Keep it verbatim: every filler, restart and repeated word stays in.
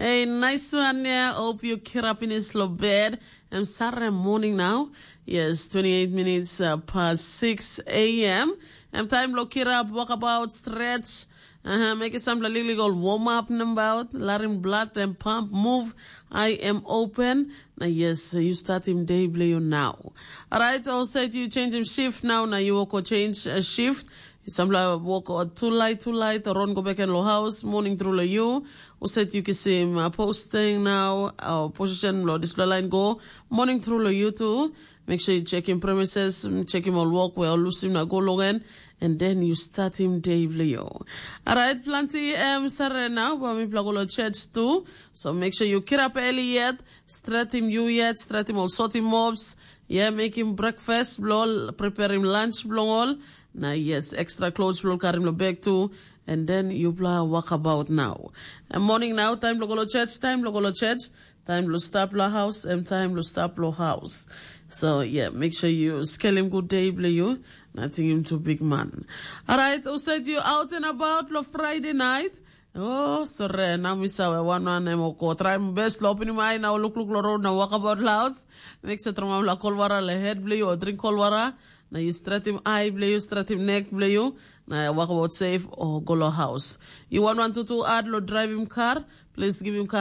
Hey, nice one, yeah. Hope you kirap in his bed. I'm sorry, morning now. Yes, twenty-eight minutes uh, past six a m. I'm time lo kirap, walk about, stretch. Uh-huh, make it some little warm up about, larim blood and pump, move. I am open. Na yes, you start him day blue now. All right, I'll say you change him shift now. Now you walk or change a shift. Sampela wok o tulai tulai, taron go beken lo haus, morning tru lo yu. Uset yu kisim uh, posting now, uh, position lo dispela line go, morning tru lo yu tu. Make sure you check in premises, check him all work where all lusim na go logan, and then you start him day vlio. Alright, plenty um, sare now, but mi plago lo church too. So make sure you get up early yet, stretch him you yet, stretch him all sort him mobs. Yeah, make him breakfast, blo, prepare him lunch, blo all. Na yes, extra clothes blo karim lo bag too. And then yupla walk about now. And morning now, time lo go lo church, time lo go lo church, time lo stop lo house, and time lo stop lo house. So yeah, make sure you scale him good day blo you. Nothing him too big man. All right, who said you out and about lo Friday night? Oh, sore, na mi sawe wan wan em oko. Try my best lo open my now look look lo road na walk about house. Make sure trauma la cold water le head blo you or drink cold water. Na you stretch him eye blo you, stretch him neck blo you. Na walk about safe or go lo house. You want one to two ad lo drive him car. Please give him car